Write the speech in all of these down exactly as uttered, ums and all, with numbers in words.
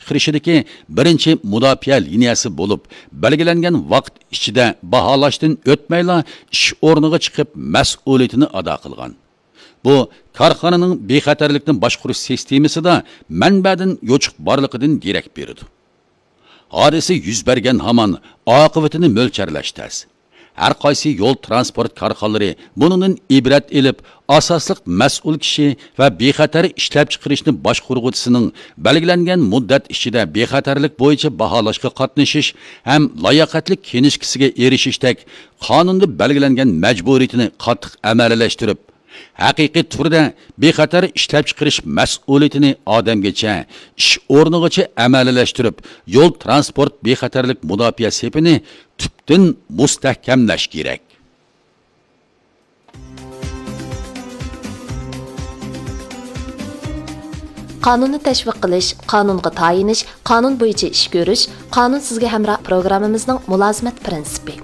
چىقىرىشىدىكى بىرىنچى مۇداپىئە لىنىيەسى بولۇپ، بەلگىلەنگەن ۋاقىت ئىچىدە باھالاشتىن ئۆتمەيلا ئىش ئورنىغا چىقىپ مەسئۇلىيىتىنى ئادا قىلغان. بۇ كارخانىنىڭ بىخەتەرلىكنى باشقۇرۇش سىستېمىسىدا مەنبەدىن يوچۇق بارلىقىدىن دېرەك بېرىدۇ. ھادىسە يۈز بەرگەن ھامان، ئاقىۋىتىنى مۆلچەرلەش تەس. ھەر قايسى يول ترانسپورت كارخانىلىرى بۇنىڭدىن ئىبرەت ئېلىپ، ئاساسلىق مەسئۇل كىشى ۋە بىخەتەر ئىشلەپچىقىرىشنى باشقۇرغۇچىسىنىڭ بەلگىلەنگەن مۇددەت ئىچىدە بىخەتەرلىك بويىچە باھالاشقا قاتنىشىش ھەم لاياقەتلىك كىنىشكىسىگە ئېرىشىشتەك قانۇندا بەلگىلەنگەن مەجبۇرىيىتىنى قاتتىق ئەمەلىيلەشتۈرۈپ، ھەقىقىي تۈردە بىخەتەر ئىشلەپچىقىرىش مەسئۇلىيىتىنى ئادەمگىچە، ئىش ئورنىغىچە ئەمەلىيلەشتۈرۈپ، يول ترانسپورت بىخەتەرلىك مۇداپىئە سېپىنى تۈپتىن مۇستەھكەملەش كېرەك. قانۇننى تەشۋىق قىلىش، قانۇنغا تايىنىش، قانۇن بويىچە ئىش كۆرۈش، قانۇن سىزگە ھەمراھ پروگراممىمىزنىڭ مۇلازىمەت پىرىنسىپى.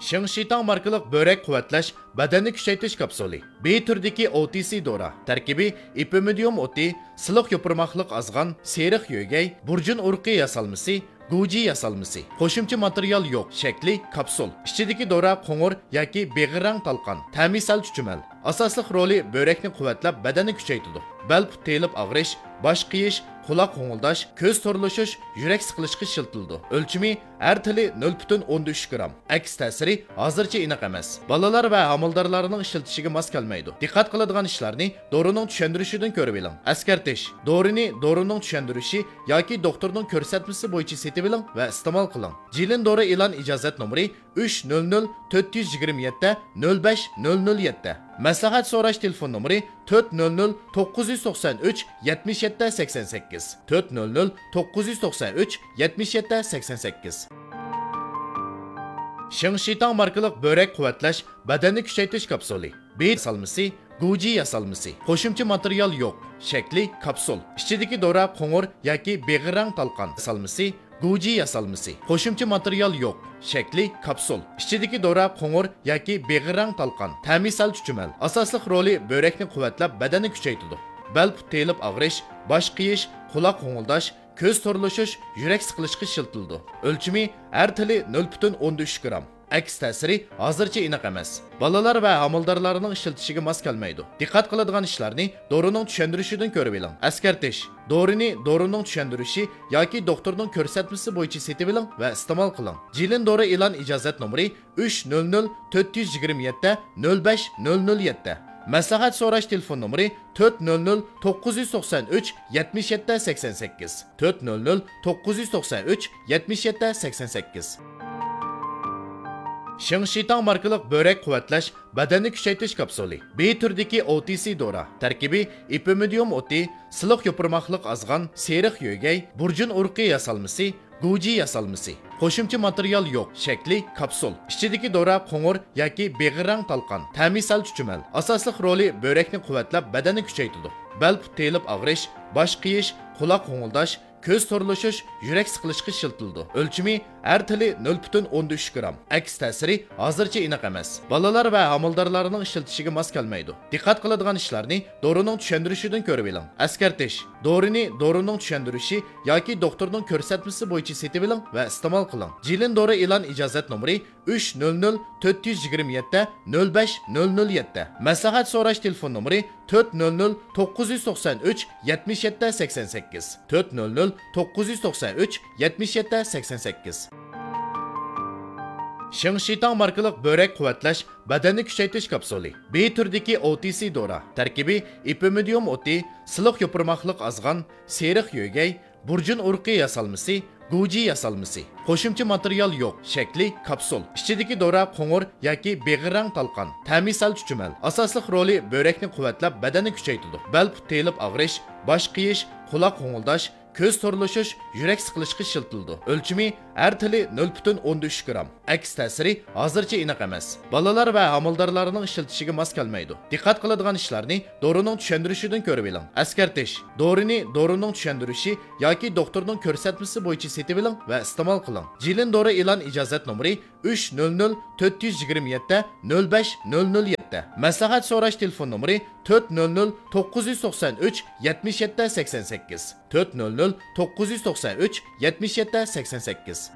شىڭشىتاڭ ماركىلىق بۆرەك قۇۋۋەتلەش بەدەننى كۈچەيتىش كاپسۇلى. بى تۈردىكى ئو تى سى دورا. تەركىبى ئېپىمىدىيۇم ئوتى، سىلىق يوپۇرماقلىق ئازغان، سېرىق يۆگەي، بۇرجۇن ئۇرۇقى ياسالمىسى، گۇجى ياسالمىسى. قوشۇمچە ماتېرىيال يوق. شەكلى كاپسۇل. ئىچىدىكى دورا قوڭۇر ياكى بېغىر رەڭ تالقان. تەمى سەل چۈچۈمەل. ئاساسلىق رولى بۆرەكنى قۇۋۋەتلەپ، بەدەننى كۈچەيتىدۇ. بەل پۇت تېيىلىپ ئاغرىش، باش قېيىش، قۇلاق غوڭۇلداش، كۆز تورلىشىش، يۈرەك سىقىلىشقا ئىشلىتىلىدۇ. ئۆلچىمى ھەر تېلى نۆل پۈتۈن ئوندىن ئۈچ گرام. ئەكس تەسىرى ھازىرچە ئېنىق ئەمەس. بالىلار ۋە ھامىلىدارلارنىڭ ئىشلىتىشىگە ماس كەلمەيدۇ. دىققەت قىلىدىغان ئىشلارنى دورىنىڭ چۈشەندۈرۈشىدىن كۆرۈۋېلىڭ. ئەسكەرتىش: دورىنى دورىنىڭ چۈشەندۈرۈشى ياكى دوختۇرنىڭ كۆرسەتمىسى بويىچە سېتىۋېلىڭ ۋە ئىستېمال قىلىڭ. جىلىن دورا ئېلان ئىجازەت نومۇرى ئۈچ نۆل نۆل تۆت يۈز يىگىرمە يەتتە نۆل بەش نۆل نۆل يەتتە. مەسلىھەت سوراش تېلېفون نومۇرى تۆت نۆل نۆل توققۇز يۈز توقسان ئۈچ يەتمىش يەتتە سەكسەن سەككىز، تۆت نۆل نۆل توققۇز يۈز توقسان ئۈچ يەتمىش يەتتە سەكسەن سەككىز. شىڭشىتاڭ ماركىلىق بۆرەك قۇۋۋەتلەش بەدەننى كۈچەيتىش كاپسۇلى. بى ياسالمىسى، گۇجى ياسالمىسى. قوشۇمچە ماتېرىيال يوق. شەكلى كاپسۇل. ئىچىدىكى دورا قوڭۇر ياكى بېغىر رەڭ تالقان. ياسالمىسى، گۇجى ياسالمىسى. قوشۇمچە ماتېرىيال يوق. شەكلى كاپسۇل. ئىچىدىكى دورا قوڭۇر ياكى بېغىر رەڭ تالقان. تەمى سەل چۈچۈمەل. ئاساسلىق رولى بۆرەكنى قۇۋۋەتلەپ، بەدەننى كۈچەيتىدۇ. بەل پۇت تېيىلىپ ئاغرىش، باش قېيىش، قۇلاق غوڭۇلداش، كۆز تورلىشىش، يۈرەك سىقىلىشقا ئىشلىتىلىدۇ. ئۆلچىمى ھەر تېلى نۆل پۈتۈن ئوندىن ئۈچ گرام. ئەكس تەسىرى ھازىرچە ئېنىق ئەمەس. بالىلار ۋە ھامىلىدارلارنىڭ ئىشلىتىشىگە ماس كەلمەيدۇ. دىققەت قىلىدىغان ئىشلارنى دورىنىڭ چۈشەندۈرۈشىدىن كۆرۈۋېلىڭ. ئەسكەرتىش: دورىنى دورىنىڭ چۈشەندۈرۈشى ياكى دوختۇرنىڭ كۆرسەتمىسى بويىچە سېتىۋېلىڭ ۋە ئىستېمال قىلىڭ. جىلىن دورا ئېلان ئىجازەت نومۇرى ئۈچ نۆل نۆل تۆت يۈز يىگىرمە يەتتە نۆل بەش نۆل نۆل يەتتە. مەسلىھەت سوراش تېلېفون نومۇرى تۆت نۆل نۆل توققۇز يۈز توقسان ئۈچ يەتمىش يەتتە سەكسەن سەككىز، تۆت نۆل نۆل توققۇز يۈز توقسان ئۈچ يەتمىش يەتتە سەكسەن سەككىز. شىڭشىتاڭ ماركىلىق بۆرەك قۇۋۋەتلەش بەدەننى كۈچەيتىش كاپسۇلى. بى تۈردىكى ئو تى سى دورا. تەركىبى ئېپىمىدىيۇم ئوتى، سىلىق يوپۇرماقلىق ئازغان، سېرىق يۆگەي، بۇرجۇن ئۇرۇقى ياسالمىسى، گۇجى ياسالمىسى. قوشۇمچە ماتېرىيال يوق. شەكلى كاپسۇل. ئىچىدىكى دورا قوڭۇر ياكى بېغىر رەڭ تالقان. تەمى سەل چۈچۈمەل. ئاساسلىق رولى بۆرەكنى قۇۋۋەتلەپ، بەدەننى كۈچەيتىدۇ. بەل پۇت تېيىلىپ ئاغرىش، باش قېيىش، قۇلاق غوڭۇلداش، كۆز تورلىشىش، يۈرەك سىقىلىشقا ئىشلىتىلىدۇ. ئۆلچىمى ھەر تېلى نۆل پۈتۈن ئوندىن ئۈچ گرام. ئەكس تەسىرى ھازىرچە ئېنىق ئەمەس. بالىلار ۋە ھامىلىدارلارنىڭ ئىشلىتىشىگە ماس كەلمەيدۇ. دىققەت قىلىدىغان ئىشلارنى دورىنىڭ چۈشەندۈرۈشىدىن كۆرۈۋېلىڭ. ئەسكەرتىش: دورىنى دورىنىڭ چۈشەندۈرۈشى ياكى دوختۇرنىڭ كۆرسەتمىسى بويىچە سېتىۋېلىڭ ۋە ئىستېمال قىلىڭ. جىلىن دورا ئېلان ئىجازەت نومۇرى ئۈچ نۆل نۆل تۆت يۈز يىگىرمە يەتتە نۆل بەش نۆل نۆل يەتتە. مەسلىھەت سوراش تېلېفون نومۇرى تۆت نۆل نۆل توققۇز يۈز توقسان ئۈچ يەتمىش يەتتە سەكسەن سەككىز، تۆت نۆل نۆل توققۇز يۈز توقسان ئۈچ يەتمىش يەتتە سەكسەن سەككىز. شىڭشىتاڭ ماركىلىق بۆرەك قۇۋۋەتلەش بەدەننى كۈچەيتىش كاپسۇلى. بى تۈردىكى ئو تى سى دورا. تەركىبى ئېپىمىدىيۇم ئوتى، سىلىق يوپۇرماقلىق ئازغان، سېرىق يۆگەي، بۇرجۇن ئۇرۇقى ياسالمىسى، گۇجى ياسالمىسى. قوشۇمچە ماتېرىيال يوق. شەكلى كاپسۇل. ئىچىدىكى دورا قوڭۇر ياكى بېغىر رەڭ تالقان. تەمى سەل چۈچۈمەل. ئاساسلىق رولى بۆرەكنى قۇۋۋەتلەپ، بەدەننى كۈچەيتىدۇ. بەل پۇت تېيىلىپ ئاغرىش، باش قېيىش، قۇلاق غوڭۇلداش، كۆز تورلىشىش، يۈرەك سىقىلىشقا ئىشلىتىلىدۇ. ئۆلچىمى ھەر تېلى نۆل پۈتۈن ئوندىن ئۈچ گرام. ئەكس تەسىرى ھازىرچە ئېنىق ئەمەس. بالىلار ۋە ھامىلىدارلارنىڭ ئىشلىتىشىگە ماس كەلمەيدۇ. دىققەت قىلىدىغان ئىشلارنى دورىنىڭ چۈشەندۈرۈشىدىن كۆرۈۋېلىڭ. ئەسكەرتىش: دورىنى دورىنىڭ چۈشەندۈرۈشى ياكى دوختۇرنىڭ كۆرسەتمىسى بويىچە سېتىۋېلىڭ ۋە ئىستېمال قىلىڭ. جىلىن دورا ئېلان ئىجازەت نومۇرى ئۈچ نۆل نۆل تۆت يۈز يىگىرمە يەتتە نۆل بەش نۆل نۆل يەتتە. مەسلىھەت سوراش تېلېفون نومۇرى: تۆت نۆل نۆل توققۇز يۈز توقسان ئۈچ يەتمىش يەتتە سەكسەن سەككىز، تۆت نۆل نۆل توققۇز يۈز توقسان ئۈچ يەتمىش يەتتە سەكسەن سەككىز.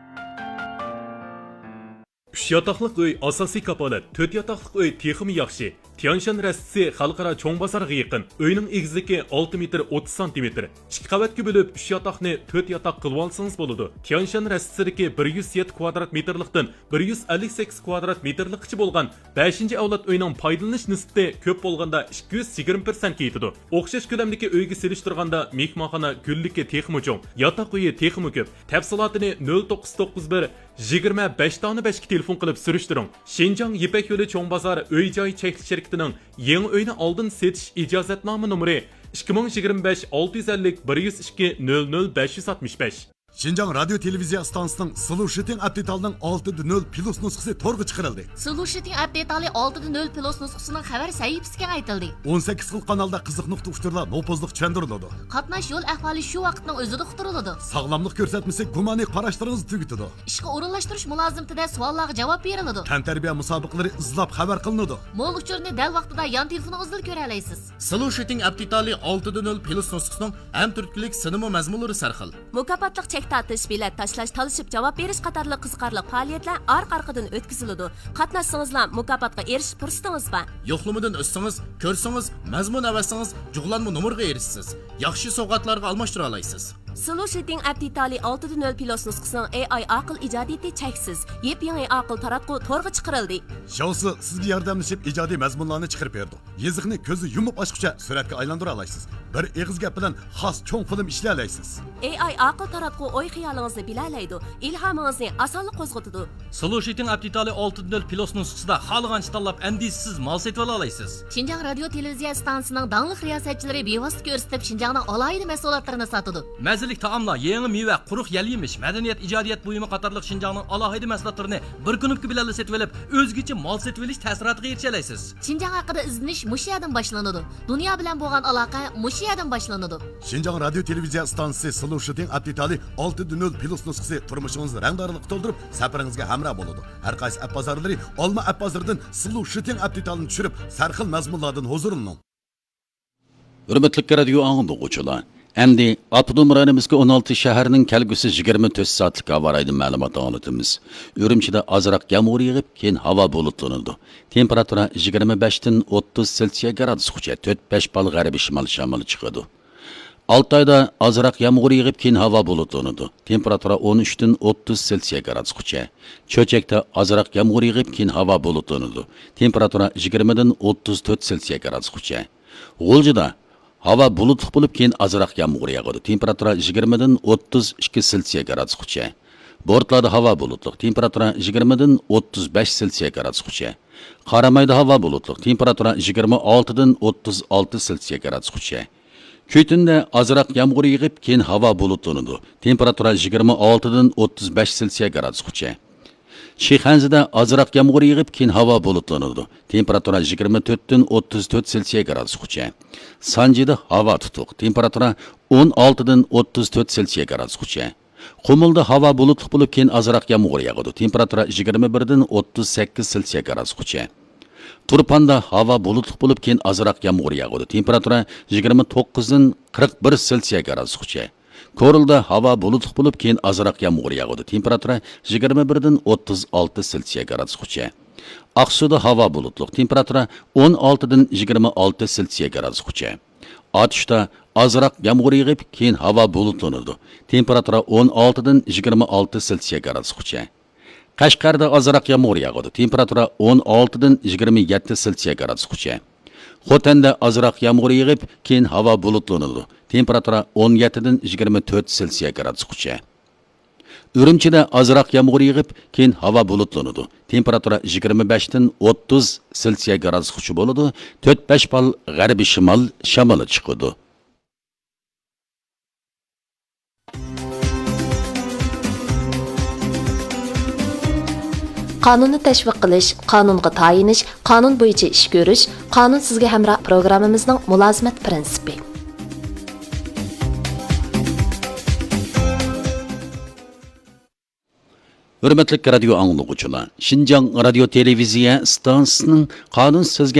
ئۈچ ياتاقلىق ئۆي ئاساسىي كاپالەت، تۆت ياتاقلىق ئۆي تېخىمۇ ياخشى. تيەنشان رەستىسى خەلقئارا چوڭ بازارغا يېقىن. ئۆينىڭ ئېگىزلىكى ئالتە مېتىر ئوتتۇز سانتىمېتىر. ئىككى قەۋەتكە بۆلۈپ، ئۈچ ياتاقنى تۆت ياتاق قىلىۋالسىڭىز بولىدۇ. تيەنشان رەستىسىدىكى بىر يۈز يەتتە كۋادرات مېتىرلىقتىن بىر يۈز ئەللىك سەككىز كۋادرات مېتىرلىققىچە بولغان بەشىنچى ئەۋلاد ئۆينىڭ پايدىلىنىش نىسبىتى كۆپ بولغاندا ئىككى يۈز يىگىرمە پىرسەنتكە يېتىدۇ. ئوخشاش كۆلەمدىكى ئۆيگە سېلىشتۇرغاندا مېھمانخانا گۈللۈكى تېخىمۇ چوڭ، ياتاق ئۆيى تېخىمۇ كۆپ. تەپسىلاتىنى نۆل توققۇز توققۇز بىر يىگىرمە بەش دانە بەشكە تېلېفون قىلىپ سۈرۈشتۈرۈڭ. شىنجاڭ يىپەك يولى چوڭ بازار ئۆي جاي چەكلىك شىركىتىنىڭ يېڭى ئۆينى ئالدىن سېتىش ئىجازەتنامە نومۇرى ئىككى مىڭ يىگىرمە بەش ئالتە يۈز ئەللىك بىر يۈز ئىككى نۆل نۆل بەش يۈز ئاتمىش بەش. شىنجاڭ رادىيو تېلېۋىزىيە ئىستانسىسىنىڭ سلۇشىتىڭ ئەپ دېتالىنىڭ ئالتە دە نۆل پلۇس نۇسخىسى تورغا چىقىرىلدى. سلۇشىتىڭ ئەپ دېتالى ئالتە دە نۆل پلۇس نۇسخىسىنىڭ خەۋەر سەھىپىسى كېڭەيتىلدى. ئون سەككىز خىل قانالدا قىزىق نۇقتا ئۇچۇرلار نوپۇزلۇق چۈشەندۈرۈلىدۇ. قاتناش يول ئەھۋالى شۇ ۋاقىتنىڭ ئۆزىدە ئۇقتۇرۇلىدۇ. ساغلاملىق كۆرسەتمىسى گۇمانىي قاراشلىرىڭىزنى تۈگىتىدۇ. ئىشقا ئورۇنلاشتۇرۇش مۇلازىمىتىدە سوئاللارغا جاۋاب بېرىلىدۇ. تەنتەربىيە مۇسابىقىلىرى ئىزلاپ خەۋەر قىلىنىدۇ. مول ئۇچۇرنى دەل ۋاقتىدا يان تېلېفونىڭىزدىلا كۆرەلەيسىز. سلۇشىتىڭ ئەپ دېتالى ئالتە دە نۆل پلۇس نۇسخىسىنىڭ ھەم تۈرتكىلىك سىنىمۇ مەزمۇنلىرى سەرخىل. مۇكاپاتلىق چەك تارتىش، بېلەت تاشلاش، تالىشىپ جاۋاب بېرىش قاتارلىق قىزىقارلىق پائالىيەتلەر ئارقا-ئارقىدىن ئۆتكۈزۈلىدۇ. قاتناشسىڭىزلا مۇكاپاتقا ئېرىشىش پۇرسىتىڭىز بار. يوقلىمىدىن ئۆتسىڭىز، كۆرسىڭىز، مەزمۇن ئەۋەتسىڭىز، جۇغلانما نومۇرغا ئېرىشىسىز. ياخشى سوۋغاتلارغا ئالماشتۇرالايسىز. سلۇشىتىڭ ئەپ دېتالى ئالتە دە نۆل پلۇس نۇسخىسىنىڭ ئېي ئاي ئاقىل ئىجادىيىتى چەكسىز. يېپيېڭى ئاقىل تاراتقۇ تورغا چىقىرىلدى. شياۋسى سىزگە ياردەملىشىپ ئىجادىي مەزمۇنلارنى چىقىرىپ بېرىدۇ. يېزىقنى كۆزنى يۇمۇپ ئاچقۇچە سۈرەتكە ئايلاندۇرالايسىز. بىر ئېغىز گەپ بىلەن خاس چوڭ فىلىم ئىشلىيەلەيسىز. ئېي ئاي ئاقىل تاراتقۇ ئوي-خىيالىڭىزنى بىلەلەيدۇ، ئىلھامىڭىزنى ئاسانلا قوزغىتىدۇ. سلۇشىتىڭ ئەپ دېتالى ئالتە دە نۆل پلۇس نۇسخىسىدا خالىغانچە تاللاپ، ئەندىشىسىز مال سېتىۋالالايسىز. شىنجاڭ رادىيو تېلېۋىزىيە ئىستانسىسىنىڭ داڭلىق رىياسەتچىلىرى بىۋاسىتە كۆرسىتىپ، شىنجاڭنىڭ ئالاھىدە مەھسۇلاتلىرىنى ساتىدۇ. مەززىلىك تائاملار، يېڭى مېۋە، قۇرۇق يەل-يېمىش، مەدەنىيەت، ئىجادىيەت بۇيۇمى قاتارلىق شىنجاڭنىڭ ئالاھىدە مەھسۇلاتلىرىنى بىر كۇنۇپكا بىلەنلا سېتىۋېلىپ، ئۆزگىچە مال سېتىۋېلىش تەسىراتىغا ئېرىشەلەيسىز. شىنجاڭ ھەققىدە ئىزدىنىش مۇشۇ يەردىن باشلىنىدۇ. دۇنيا بىلەن بولغان ئالاقە مۇشۇ يەردىن باشلىنىدۇ. شىنجاڭ رادىيو تېلېۋىزىيە ئىستانسىسى سلۇشىتىڭ ئەپ دېتالى ئالتە دە نۆل پلۇس نۇسخىسى تۇرمۇشىڭىزنى رەڭدارلىققا تولدۇرۇپ، سەپىرىڭىزگە ھەمراھ بولىدۇ. ھەر قايسى ئەپ بازارلىرى ئالما ئەپ بازىرىدىن سلۇشىتىڭ ئەپ دېتالىنى چۈشۈرۈپ، سەرخىل مەزمۇنلاردىن ھۇزۇرلىنىڭ. ھۆرمەتلىك رادىيو ئاڭلىغۇچىلار، ئەمدى ئاپتونوم رايونىمىزدىكى ئون ئالتە شەھەرنىڭ كەلگۈسى يىگىرمە تۆت سائەتلىك ھاۋا رايىدىن مەلۇمات ئاڭلىتىمىز. ئۈرۈمچىدە ئازراق يامغۇر يېغىپ، كېيىن ھاۋا بۇلۇتلىنىدۇ. تېمپېراتۇرا يىگىرمە بەشتىن ئوتتۇز سېلسىيە گرادۇسقىچە، تۆت بەش بال غەربىي شىمال شامىلى چىقىدۇ. ئالتايدا ئازراق يامغۇر يېغىپ، كېيىن ھاۋا بۇلۇتلىنىدۇ. تېمپېراتۇرا ئون ئۈچتىن ئوتتۇز سېلسىيە گرادۇسقىچە. چۆچەكتە ئازراق يامغۇر يېغىپ، كېيىن ھاۋا بۇلۇتلىنىدۇ. تېمپېراتۇرا يىگىرمىدىن ئوتتۇز تۆت سېلسىيە گرادۇسقىچە. غۇلجىدا ھاۋا بۇلۇتلۇق بولۇپ، كېيىن ئازراق يامغۇر ياغىدۇ. تېمپېراتۇرا يىگىرمىدىن ئوتتۇز ئىككى سېلسىيە گرادۇسقىچە. بورتالادا ھاۋا بۇلۇتلۇق. تېمپېراتۇرا يىگىرمىدىن ئوتتۇز بەش سېلسىيە گرادۇسقىچە. قارامايدا ھاۋا بۇلۇتلۇق. تېمپېراتۇرا يىگىرمە ئالتىدىن ئوتتۇز ئالتە سېلسىيە گرادۇسقىچە. كۈيتۈندە ئازراق يامغۇر يېغىپ، كېيىن ھاۋا بۇلۇتلىنىدۇ. تېمپېراتۇرا يىگىرمە ئالتىدىن ئوتتۇز بەش سېلسىيە گرادۇسقىچە. شىخەنزىدە ئازراق يامغۇر يېغىپ، كېيىن ھاۋا بۇلۇتلىنىدۇ. تېمپېراتۇرا يىگىرمە تۆتتىن ئوتتۇز تۆت سېلسىيە گرادۇسقىچە. سانجىدا ھاۋا تۇتۇق. تېمپېراتۇرا ئون ئالتىدىن ئوتتۇز تۆت سېلسىيە گرادۇسقىچە. قۇمۇلدا ھاۋا بۇلۇتلۇق بولۇپ، كېيىن ئازراق يامغۇر ياغىدۇ. تېمپېراتۇرا يىگىرمە بىردىن ئوتتۇز سەككىز سېلسىيە گرادۇسقىچە. تۇرپاندا ھاۋا بۇلۇتلۇق بولۇپ، كېيىن ئازراق يامغۇر ياغىدۇ. تېمپېراتۇرا يىگىرمە توققۇزدىن قىرىق بىر سېلسىيە گرادۇسقىچە. كورلىدا ھاۋا بۇلۇتلۇق بولۇپ، كېيىن ئازراق يامغۇر ياغىدۇ. تېمپېراتۇرا يىگىرمە بىردىن ئوتتۇز ئالتە سېلسىيە گرادۇسقىچە. ئاقسۇدا ھاۋا بۇلۇتلۇق. تېمپېراتۇرا ئون ئالتىدىن يىگىرمە ئالتە سېلسىيە گرادۇسقىچە. ئاتۇشتا ئازراق يامغۇر يېغىپ، كېيىن ھاۋا بۇلۇتلىنىدۇ. تېمپېراتۇرا ئون ئالتىدىن يىگىرمە ئالتە سېلسىيە گرادۇسقىچە. قەشقەردە ئازراق يامغۇر ياغىدۇ. تېمپېراتۇرا ئون ئالتىدىن يىگىرمە يەتتە سېلسىيە گرادۇسقىچە. خوتەندە ئازراق يامغۇر يېغىپ، كېيىن ھاۋا بۇلۇتلىنىدۇ. تېمپېراتۇرا ئون يەتتىدىن يىگىرمە تۆت سېلسىيە گرادۇسقىچە. ئۈرۈمچىدە ئازراق يامغۇر يېغىپ، كېيىن ھاۋا بۇلۇتلىنىدۇ. تېمپېراتۇرا يىگىرمە بەشتىن ئوتتۇز سېلسىيە گرادۇسقىچە بولىدۇ. تۆت بەش بال غەربىي شىمال شامىلى چىقىدۇ. قانۇننى تەشۋىق قىلىش، قانۇنغا تايىنىش، قانۇن بويىچە ئىش كۆرۈش، قانۇن سىزگە ھەمراھ پروگراممىمىزنىڭ مۇلازىمەت پىرىنسىپى. ھۆرمەتلىك رادىيو ئاڭلىغۇچىلار، شىنجاڭ رادىيو تېلېۋىزىيە ئىستانسىسىنىڭ قانۇن سىزگە